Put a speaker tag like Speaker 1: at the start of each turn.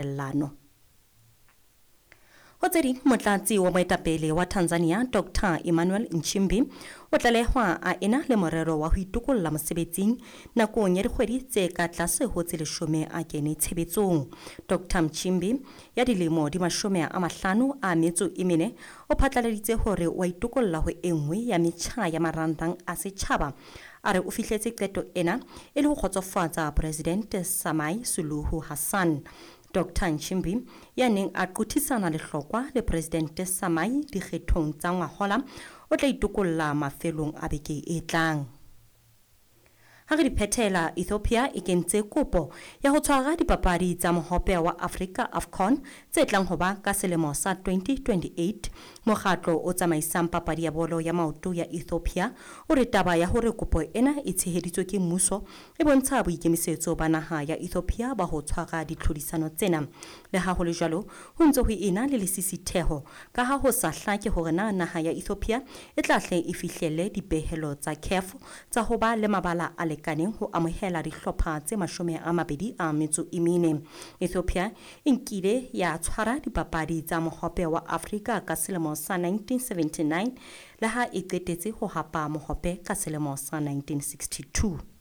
Speaker 1: Tumellano. Ho tse ding, motlatsi wa moetapele wa Tanzania Dr Emmanuel Nchimbi o tlalehwa a ena le morero wa ho itokolla mosebetsing nakong ya dikgwedi tse ka tlase ho tse 10 a kene tshebetsong. Dr Nchimbi ya dilemo di 54 o phatlaladitse hore o a itokolla ho e nngwe ya metjha ya marangrang a setjhaba. A re o fihletse qeto ena e le ho kgotsofatsa Presidente Samia Suluhu Hassan. Dr Nchimbi ya neng a qothisana lehlokwa le Presidente Samia dikgethong tsa ngwahola o tla itokolla mafelong a beke e tlang. Ha re di phethela, Ethiopia e kentse kopo ya ho tshwara dipapadi tsa mohope wa Afrika AFCON tse tlang ho ba ka selemo sa 2028. Mokgatlo o tsamaisang papadi ya bolo ya maoto ya Ethiopia o re taba ya hore kopo ena e tsheheditswe ke mmuso e bontsha boikemisetso ba naha ya Ethiopia ba ho tshwara ditlhodisano tsena. Le ha ho le jwalo, ho ntse ho ena le lesisitheho ka ha ho sa hlake hore na naha ya Ethiopia e tla hle e fihlelle dipehelo tsa CAF tsa ho ba le mabala a lekaneng ho amohela dihlopha tse 24. Ethiopia e nkile ya tshwara dipapadi tsa mohope wa Afrika ka selemo sa 1979 le ha e qetetse ho hapa mohope ka selemo sa 1962.